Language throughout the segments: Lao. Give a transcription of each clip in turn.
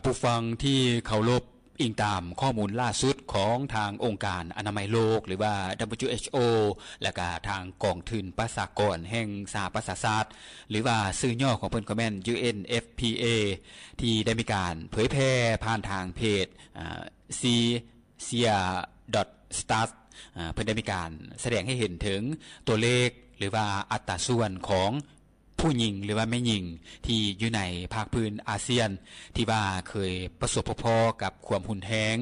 ຜູ້ຟັງທີ່ເຄົາລົບ, ອີງຕາມຂໍ້ມູນລ່າສຸດຂອງທາງອົງການອະນາໄມໂລກ ຫຼືວ່າ WHO ແລະກະທາງກອງທຶນປະຊາກອນແຫ່ງສະຫະປະຊາຊາດ ຫຼືວ່າຊື່ຫຍໍ້ຂອງເພິ່ນກໍແມ່ນ UNFPA ທີ່ໄດ້ມີການເຜີຍແຜ່ຜ່ານທາງເພຈ ເອີ Asia.stats ເພິ່ນໄດ້ມີການສະແດງໃຫ້ເຫັນເຖິງຕົວເລກ ຫຼືວ່າອັດຕາສ່ວນຂອງ ຜູ້ຍິງ ຫຼືວ່າແມ່ຍິງ ທີ່ຢູ່ໃນພາກພື້ນອາຊຽນ ທີ່ວ່າເຄີຍປະສົບພົບພໍ້ກັບຄວາມຮຸນແຮງ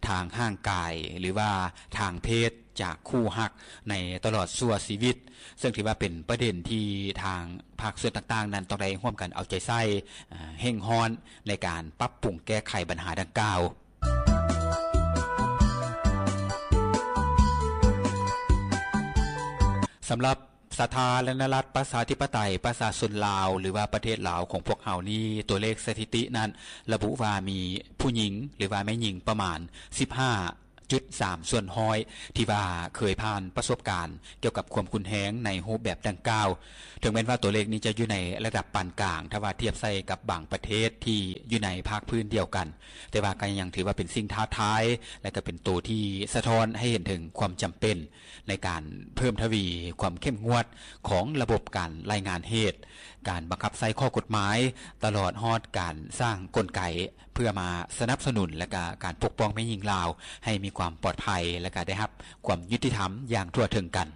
ທາງຮ່າງກາຍ ຫຼືວ່າທາງເພດຈາກຄູ່ຮັກໃນຕະຫຼອດຊົ່ວຊີວິດ, ເຊິ່ງຖືວ່າເປັນປະເດັນທີ່ທາງພາກສ່ວນຕ່າງໆນັ້ນຕ້ອງໄດ້ຮ່ວມກັນເອົາໃຈໃສ່, ເຮ່ງຮ້ອນໃນການປັບປຸງແກ້ໄຂບັນຫາດັ່ງກ່າວ. ສຳລັບ ສາທາລະນະລັດ ປະຊາທິປະໄຕ ປະຊາຊົນລາວ ຫຼືວ່າປະເທດລາວຂອງພວກເຮົານີ້, ຕົວເລກສະຖິຕິນັ້ນລະບຸວ່າມີຜູ້ຍິງ ຫຼືວ່າແມ່ຍິງປະມານ ສິບຫ້າຈຸດສາມສ່ວນຮ້ອຍ ທີ່ວ່າເຄີຍຜ່ານປະສົບການກ່ຽວກັບຄວາມຮຸນແຮງໃນຮູບແບບດັ່ງກ່າວ. ເຖິງແມ່ນວ່າຕົວເລກນີ້ຈະຢູ່ໃນລະດັບປານກາງ ຖ້າວ່າທຽບໃສ່ກັບບາງປະເທດທີ່ຢູ່ໃນພາກພື້ນດຽວກັນ, ແຕ່ວ່າກໍຍັງຖືວ່າເປັນສິ່ງທ້າທາຍ ແລະ ກໍເປັນໂຕທີ່ສະທ້ອນໃຫ້ເຫັນເຖິງຄວາມຈຳເປັນ ໃນການເພີ່ມທະວີຄວາມເຂັ້ມງວດຂອງລະບົບການລາຍງານເຫດ, ການບັງຄັບໃຊ້ຂໍ້ກົດໝາຍ, ຕະຫຼອດຮອດການສ້າງກົນໄກເພື່ອມາສະໜັບສະໜູນ ແລະ ກະການປົກປ້ອງແມ່ຍິງລາວໃຫ້ມີຄວາມປອດໄພ ແລະ ກະໄດ້ຮັບຄວາມຍຸຕິທຳຢ່າງທົ່ວເຖິງກັນ.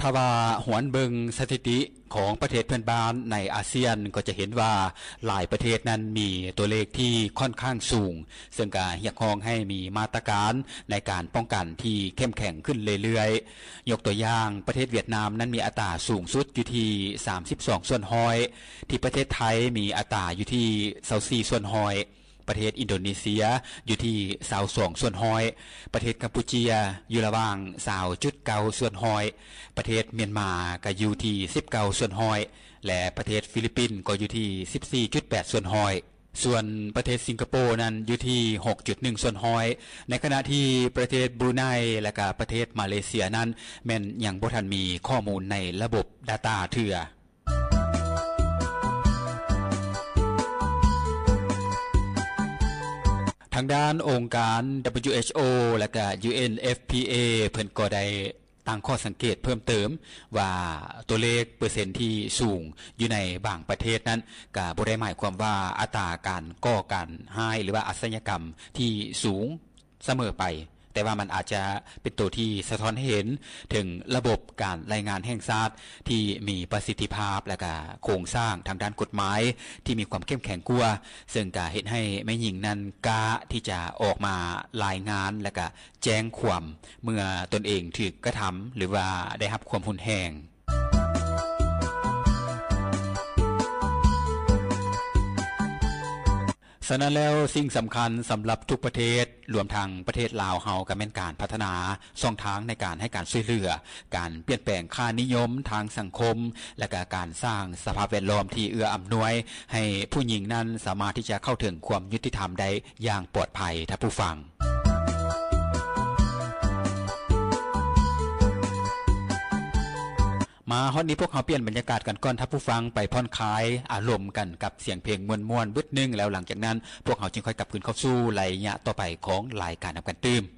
ຖ້າວ່າຫວນເບິ່ງສະຖິຕິ ຂອງປະເທດເພື່ອນບ້ານໃນອາຊຽນ ກໍຈະເຫັນວ່າຫຼາຍປະເທດນັ້ນມີຕົວເລກທີ່ຂ້ອນຂ້າງສູງ, ເຊິ່ງກະຮຽກຮ້ອງໃຫ້ມີມາດຕະການໃນການປ້ອງກັນທີ່ເຂັ້ມແຂງຂຶ້ນເລື້ອຍໆ. ຍົກຕົວຢ່າງ, ປະເທດຫວຽດນາມນັ້ນມີອັດຕາສູງສຸດຢູ່ທີ່ສາມສິບສອງສ່ວນຮ້ອຍ, ທີ່ປະເທດໄທມີອັດຕາຢູ່ທີ່ຊາວສີ່ສ່ວນຮ້ອຍ. ປະເທດອິນໂດເນເຊຍຢູ່ທີ່ຊາວສອງສ່ວນຮ້ອຍ, ປະເທດກຳປູເຈຍຢູ່ລະຫວ່າງຊາວຈຸດເກົ້າສ່ວນຮ້ອຍ, ປະເທດມຽນມາກໍຢູ່ທີ່ສິບເກົ້າສ່ວນຮ້ອຍ ແລະ ປະເທດຟີລິບປິນກໍຢູ່ທີ່ສິບສີ່ຈຸດແປດສ່ວນຮ້ອຍ, ສ່ວນປະເທດສິງກະໂປນັ້ນຢູ່ທີ່ຫົກຈຸດໜຶ່ງສ່ວນຮ້ອຍ, ໃນຂະນະທີ່ປະເທດບຣູໄນ ແລະ ກະປະເທດມາເລເຊຍນັ້ນແມ່ນຍັງບໍ່ທັນມີຂໍ້ມູນໃນລະບົບດາຕ້າເທື່ອ. ທາງດ້ານອົງການ WHO ແລະກະ UNFPA ເພິ່ນກໍໄດ້ຕັ້ງຂໍ້ສັງເກດເພີ່ມເຕີມວ່າ ຕົວເລກເປີເຊັນທີ່ສູງຢູ່ໃນບາງປະເທດນັ້ນ ກະບໍ່ໄດ້ໝາຍຄວາມວ່າອັດຕາການກໍ່ການຮ້າຍ ຫຼືວ່າອາຊະຍາກຳທີ່ສູງ ສະເໝີໄປ, ແຕ່ວ່າມັນອາດຈະເປັນໂຕທີ່ສະທ້ອນໃຫ້ເຫັນເຖິງລະບົບການລາຍງານແຫ່ງຊາດທີ່ມີປະສິດທິພາບ ແລະກະໂຄງສ້າງທາງດ້ານກົດໝາຍທີ່ມີຄວາມເຂັ້ມແຂງກວ່າ, ເຊິ່ງກະເຮັດໃຫ້ແມ່ຍິງນັ້ນກ້າທີ່ຈະອອກມາລາຍງານ ແລະກະແຈ້ງຄວາມເມື່ອຕົນເອງຖືກກະທຳ ຫຼືວ່າໄດ້ຮັບຄວາມຮຸນແຮງ. ສະນັ້ນແລ້ວ, ສິ່ງສຳຄັນສຳລັບທຸກປະເທດ, ລວມທັງປະເທດລາວເຮົາ, ກໍແມ່ນການພັດທະນາຊ່ອງທາງໃນການໃຫ້ການຊ່ວຍເຫຼືອ, ການປ່ຽນແປງຄ່ານິຍົມທາງສັງຄົມ ແລະກະການສ້າງສະພາບແວດລ້ອມທີ່ເອື້ອອຳນວຍໃຫ້ຜູ້ຍິງນັ້ນສາມາດທີ່ຈະເຂົ້າເຖິງຄວາມຍຸຕິທຳໄດ້ຢ່າງປອດໄພ, ທ່ານຜູ້ຟັງ. ມາຮອດນີ້ ພວກເຮົາປ່ຽນບັນຍາກາດກັນກ່ອນ, ທ່ານຜູ້ຟັງໄປຜ່ອນຄາຍອາລົມກັນກັບສຽງເພງມ່ວນໆບຶດໜຶ່ງ, ແລ້ວຫຼັງຈາກນັ້ນ ພວກເຮົາຈຶ່ງຄ່ອຍກັບຄືນເຂົ້າສູ່ໄລຍະຕໍ່ໄປຂອງລາຍການນຳກັນຕື່ມ.